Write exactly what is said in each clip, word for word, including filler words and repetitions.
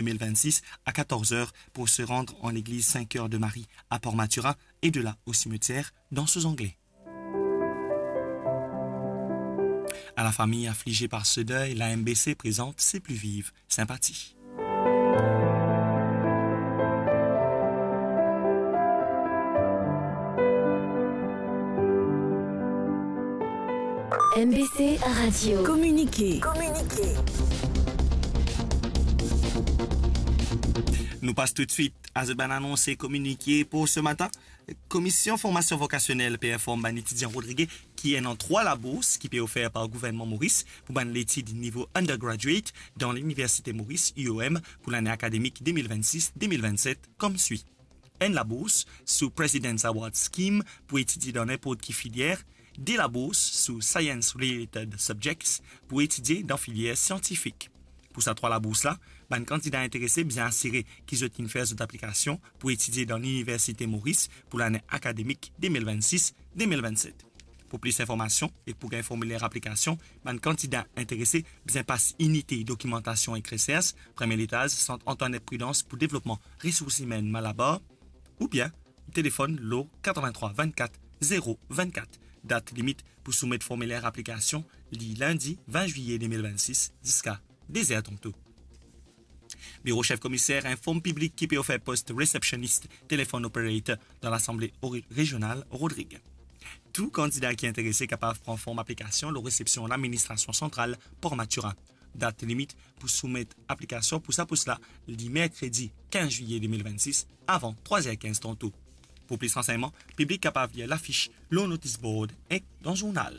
deux mille vingt-six à quatorze heures pour se rendre en l'église Saint-Cœur de Marie à Port-Mathurin et de là au cimetière d'Anse aux Anglais. À la famille affligée par ce deuil, la M B C présente Ses plus vives sympathies. M B C Radio. Communiqué. Communiqué. Nou pas toutswit a zot bann anons e kominike pou se matin. Komision Formasion Vokasionel pe inform bann etidian Rodrig ki ena trwa labours ki pe ofer par gouvernman Moris pou bann letid nivo undergraduate dan Liniversite Moris, U O M, pou lane akademik deux mille vingt-six deux mille vingt-sept, koumsa: enn labours sou President's Award Scheme pou etidie dan ninport ki filier, de labours sou science-related subjects pou etidie dan filier siantifik. Pou sa trwa labours la, bann kandida interese bizin asire ki zot inn fer zot aplikasion pou etidie dan Liniversite Moris pou lane akademik deux mille vingt-six deux mille vingt-sept. Pou plis informasion e pou gagn formiler aplikasion, bann kandida interese bizin pas inite dokimantasion ek resers, premie letaz, Sant Antoinette Prudence pou devlopman resours imenn Malabar, oubien telefonn lor quatre-vingt-trois vingt-quatre zéro vingt-quatre. Dat limit pou soumet formiler aplikasion li lindi vin zwiye deux mille vingt-six ziska de zer tanto. Biro Sef Komiser inform piblik ki pe ofer post receptionist, telephone operator dan Lasanble Ori-, Rezional Rodrig. Tou kandida ki interese kapav pran form aplikasion lor resepsion Laministrasion Santral Port Mathurin. Dat limit pou soumet aplikasion pou sa pos la li merkredi quinze zwiye deux mille vingt-six avan trwa zer kinz tanto. Pou plis ransegnman, piblik kapav lir lafis lor notis board ek dan zournal.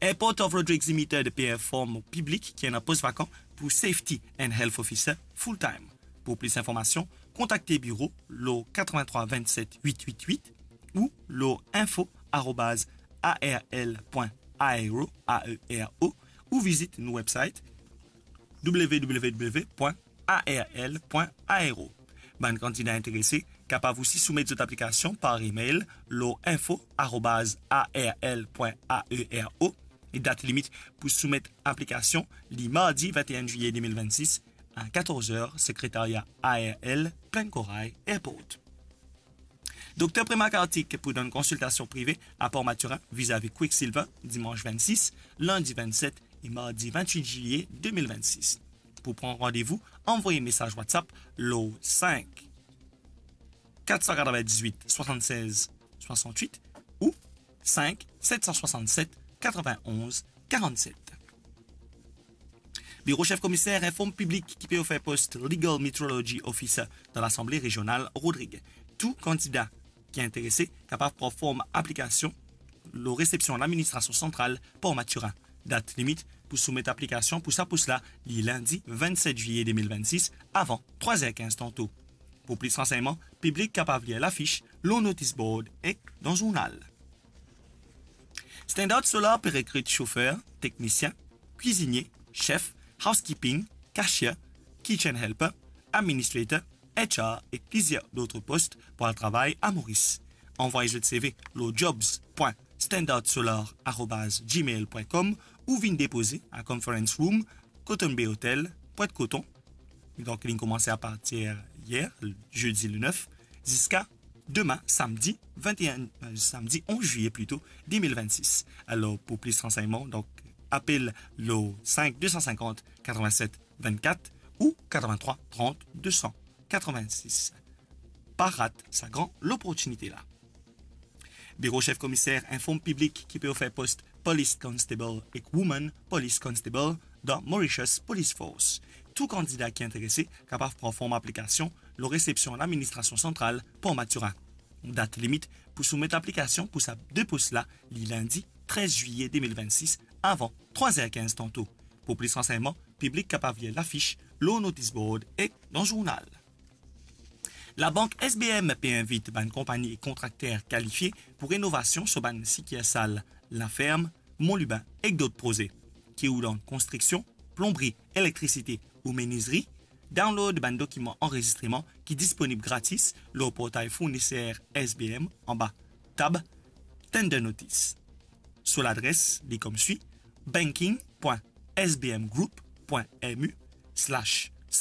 Airport of Rodrigues Limited pe inform piblik ki ena pos vakan pou Safety and Health Officer full time. Pou plis informasion, kontakte biro lor quatre-vingt-trois vingt-sept huit huit huit ou lor info arobaz A R L point aero, A E R O, ou vizit nou website w w w point a r l point aero. Bann kandida interese kapav osi soumet zot aplikasion par email lor info arobaz A R L point aero. E dat limit pou soumet aplikasion li mardi vingt et un zwiye deux mille vingt-six a quatorze heures, sekretaria A R L, Plaine Corail Airport. Dokter Prema Kartik pou donn konsiltasion prive a Port Mathurin vizavi Quicksilver, dimans vingt-six, lindi vingt-sept e mardi vingt-huit zwiye deux mille vingt-six. Pou pran randevou, anvoy mesaz WhatsApp lor cinq quatre cent quatre-vingt-dix-huit soixante-seize soixante-huit ou cinq sept cent soixante-sept quatre-vingt-onze quarante-sept. Biro Sef Komiser inform piblik ki pe ofer post Legal Metrology Officer dan Lasanble Rezional Rodrig. Tou kandida ki interese kapav pran form aplikasion lor resepsion Laministrasion Santral Port Mathurin. Dat limit pou soumet aplikasion pou sa pos la li lindi vingt-sept zwiye deux mille vingt-six avan trwa zer kinz tanto. Pou plis ransegnman, piblik kapav lir lafis lor notis board ek dan zournal. Standard Solar pe rekrit sofer, teknisien, kwizinie, sef, housekeeping, cashier, kitchen helper, administrator, H R ek plizier dot pos pou al travay a Moris. Anvoy zot C V lor jobs point standard solar arobaz gmail point com ou vinn depoze a Conference Room, Cotton Bay Hotel, Pointe Coton. Donk, li koumans apartir yer, zedi le neuf, ziska demin, samdi vingt et un, euh, samdi onze zwiye plito, deux mille vingt-six. Alor, pou plis ransegnman, donk, apel lor cinq deux cent cinquante quatre-vingt-sept vingt-quatre ou quatre-vingt-trois trente deux cent quatre-vingt-six. Pa rat sa gran loportinite la. Biro Sef Komiser inform piblik ki pe ofer post Police Constable ek Woman Police Constable dan Mauritius Police Force. Tou kandida ki interese kapav pran form aplikasion lor resepsion Laministrasion Santral Port Mathurin. Dat limit pou soumet aplikasion pou sa de pos la li lindi trez zwiye deux mille vingt-six avan trwa zer kinz tanto. Pou plis ransegnman, piblik kapav lir lafis lor notis board ek dan zournal. Labank S B M pe invit bann konpagni ek kontrakter kalifie pou renovasion so bann sikirsal La Ferme, Mont Lubin ek dot proze. Ki ou dan konstriksion, plonbri, elektrisite ou menizri, download bann dokiman anrezistreman ki disponib gratis lor portay fourniser S B M anba tab Tender Notice. So ladres, li koumsa: banking point S B M group point M U slash